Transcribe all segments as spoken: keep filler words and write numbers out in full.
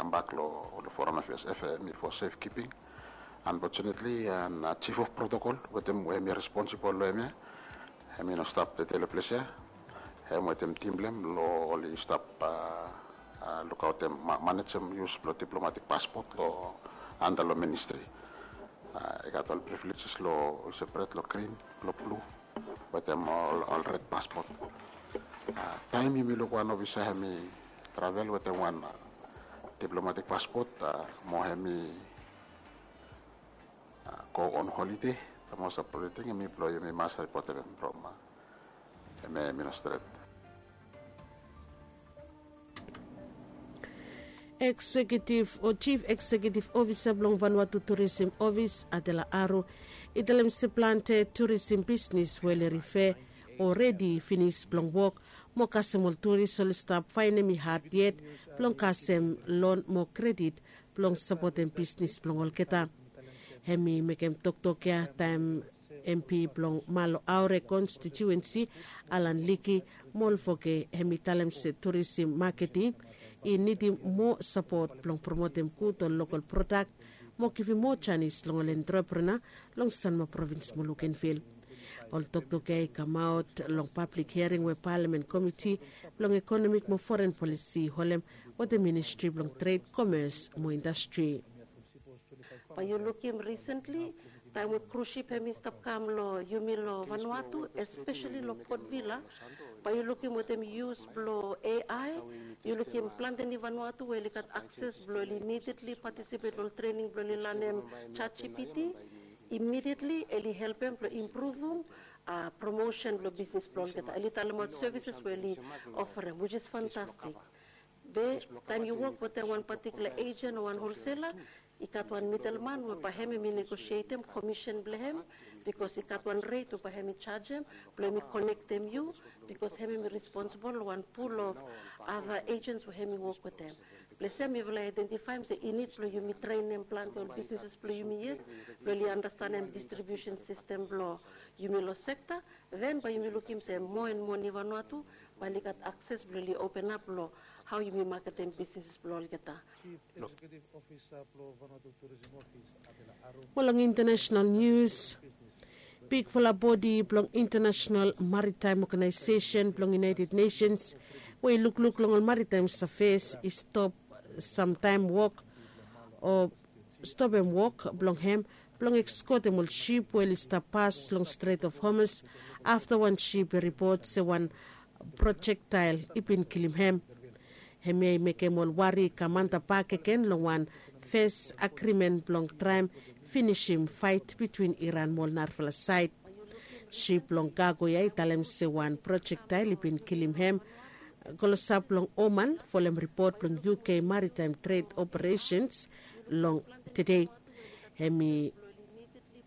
kambak long ol foreign affairs, hemi for safe keeping. Unfortunately, an chief of protocol wetem we hemi responsibol long hemia, hemi no stap dede long ples ya. Hem wetem tim blong hem long oli stap lukaotem, manejem yus blong diplomatik paspot long anda long ministri. I gat ol privileges long ol sepret long grin, long blu, wetem ol red paspot. Taem yumi luk wan ofisa hemi travel wetem wan diplomatik paspot, mo hemi go on holide, the most appropriate ting hemi blong yumi mas ripotem hem from hemi ministret. Eksekiutiv o jif eksekiutiv ofisa blong Vanuatu Turism Ofis, Adela Aru, i talem se plante turism bisnis we oli rife o redi finis blong wok, mo kasem ol turis oli stap faenem i had yet blong kasem lon mo kredit blong sapotem bisnis blong olgeta. Hemi mekem toktok ya taem MP blong Malo Aure konstitiuensi, Alan Liki Molfoke, hemi talem se turism maketing i nidim moa sapot blong promotem gud ol lokol prodak mo givim moa janis long ol entreprenua long Sanma provins mo Lukenvil. Ol toktok ya i kamaot long pablik hiaring we Palamen Komiti blong Ekonomik mo Foren Polisi i holem wetem Ministri blong Tred, Komes mo Indastri. Bae yu lukim risentli taem we krus sip hemi stap kam long yumi long Vanuatu, espeseli long Port Vila, bae yu lukim wetem yus blong A I, yu lukim plante ni Vanuatu we oli gat akses blong oli imedietli patisipet long ol trening blong oli lanem ChatGPT. Imedietli oli helpem blong impruvum promosen blong bisnis blong olgeta. Oli talemaot sevises we oli oferem, which is fantastik. Be taem yu wok wetem wan patikula ejen o wan holsela, i gat wan midelman we bae hem hemi negosietem komisen blong hem, bikos i gat wan ret we bae hemi jajem blong hemi konektem yu, bikos hem hemi responsibol long wan pul of ada ejens we hemi wok wetem. Blong hem yufala i aedentifaem se i nid blong yumi trenem plante ol bisnises blong yumi yet blong oli andastanem distribiusen sistem blong yumi long sekta. Den bae yumi lukim se moa en moa ni Vanuatu bae oli gat akses blong oli openap long hao yumi maketem bisnis blong olgeta. Mo long intanesenal nius, bigfala bodi blong Intanesenal Maritaem Oganaesesen blong United Nations we i lukluk long ol maritaem safes i stop samtaem wok o stopem wok blong hem blong ekskotem ol sip we oli stap pas long Strait of Hormuz afta wan sip i ripot se wan projektael i bin kilim hem. Hemia i mekem ol wari i kam antap bakegen long wan fes agrimen blong traem finisim faet bitwin Iran mo ol narafala saed. Sip blong kago ya i talem se wan projektael i bin kilim hem klosap long Oman, folem ripot blong U K Maritaem Tred Operesens long tede. Hem i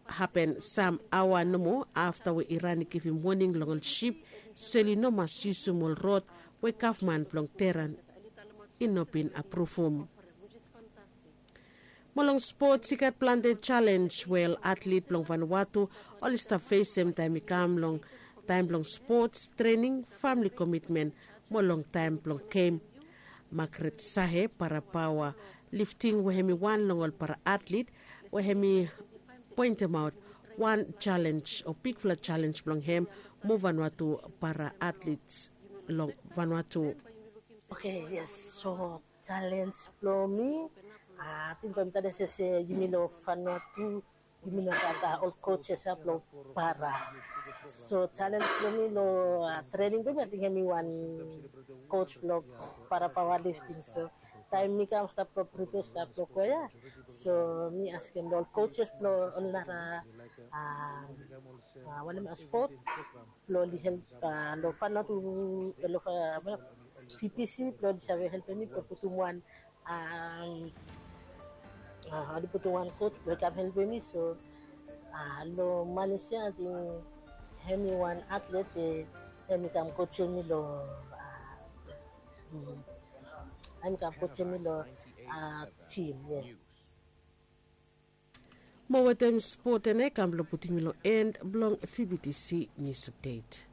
hapen sam aoa nomo afta we Iran i givim woning long ol sip se oli no mas yusum ol rod we gavman blong Teheran i no bin apruvum. Mo long spots i gat plante jalenj we ol atlet blong Vanuatu oli stap fesem taem i kam long taem blong spots, trening, famle komitmen mo long taem blong gem. Magret Sahe, parapaoa lifting we hem i wan long ol paraatlet we hem i poentemaot wan jalenj o bigfala jalenj blong hem mo Vanuatu paraatlets long Vanuatu. Oke, yes. So jalenj blong mi, ating bae mi talem se yumi long Vanuatu yumi no gat ol kojes ya blong para. So jalenj blong mi long trening blong mi, ating hem i wan koj blong para paoa lifting. So taem mi kam stap blong pripea stap blong go ya, so mi askem long ol kojes blong ol nara wanem, spot blong oli help long Vanuatu, long VPC blong oli save helpem mi blong putum wan, oli putum wan koj blong i kam helpem mi. So long Malaysia ating hem i wan atlet we hem i kam kojem mi long, hem i kam kojem mi long jim. Yes. Mo wetem spot ya nao i kam blong putum mi long en blong VBTC nius apdet.